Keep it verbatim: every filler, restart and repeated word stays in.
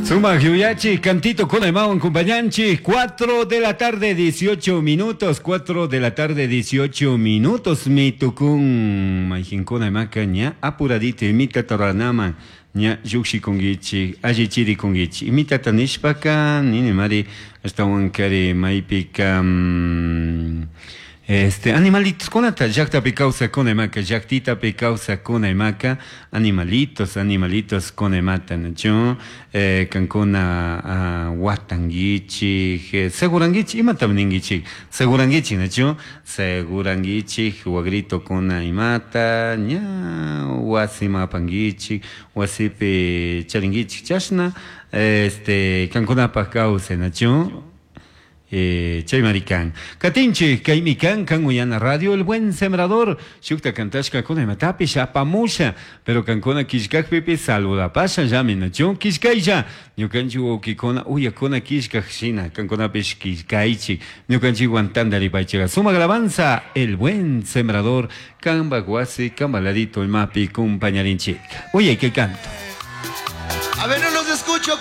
Sumak yuyachi, cantito con el compañanchi, cuatro de la tarde, dieciocho minutos, cuatro de la tarde, dieciocho minutos, mi tukun, mayjinkuna imaka ña apuradito, imita toranaman, ña llukshikunkichik, allichirikunkichik, imitata nishpaka, nini mari, ashtawankari maypika, mm, este animalitos kunata llaktapi kawsakuna imaka llaktitapi kawsakuna imaka animalitos animalitos kuna imata nachu eh, kankuna uh, watankichik eh, segurankichik imatam ninkichik segurankichik nachu segurankichik wagritokuna imata ña wasima apankichik wasipi charinkichik chashna este kankunapak kawsay nachu eh, chay marikan. Katinchik, kaymi kan, kan uyana radio El Buen Sembrador, shukta kantashka kuna imatapish apamusha, pero kankuna killkakpipi saludapasha llami nachu killkaylla, ñukanchik wawkikuna uyakuna killkak shina, kankunapish killkaychik, ñukanchikwan tantaripaychika. Sumak alabanza, El Buen Sembrador, kanpak wasi, kanpak ladito imapi kumpañarinchik. Uyay kay canto. A ver, no los escucho.